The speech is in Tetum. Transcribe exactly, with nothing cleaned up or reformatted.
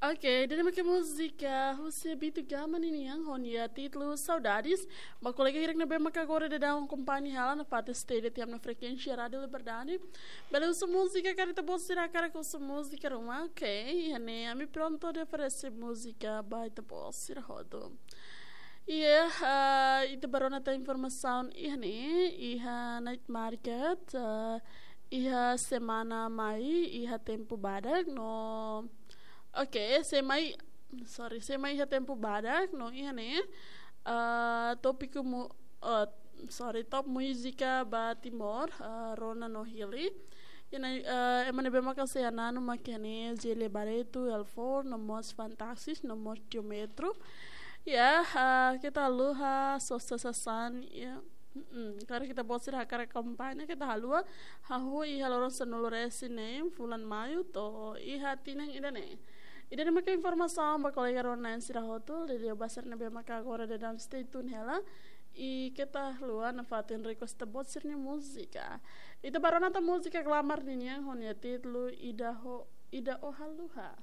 Ok, ida-ne'e mak múzika husi Bitu Gama ninian ho nia títulu Saudades. Ba kolega hirak ne'ebé maka agora daudaun akompaña hela nafatin stay tiha ona frekuénsia Rádiu Liberdade. Bele husu múzika karik ita-boot sira hakarak husu múzika ruma. Ok, iha ne'e ami prontu atu oferese múzika ba ita-boot sira hotu. Iha, ah, ita bá rona tan informasaun iha ne'e, iha night market, ah, iha semana mai, iha tempu badak no, ok, semana, sorry, semana iha tempu badak no iha ne'e, ah, tópiku mu-, ah, sorry, top múzika ba Timor, ah, rona no hili. Iha ne'e, ah, ema ne'ebé maka sei hananu mak iha ne'e Jele Barreto, Elfor, no mós Fantaxis, no mós Geometro. Ya, ah, keta haluha sosa sasán, ya. Mm-mm. Karik ita-boot sira hakarak akompaña, keta haluha. Hahú iha loron sanulu-resin-neen fulan Maiu to'o iha tinan ida-ne'e. Ida-ne'e maka informasaun ba kolega rona-na'in sira hotu, liuliu ba sira ne'ebé maka agora daudaun stay tune hela. I keta haluha nafatin request ita-boot sira-nia múzika. Ita bá rona tan múzika Glamar ninian ho nia títulu Ida Ho, Ida Ó Haluha.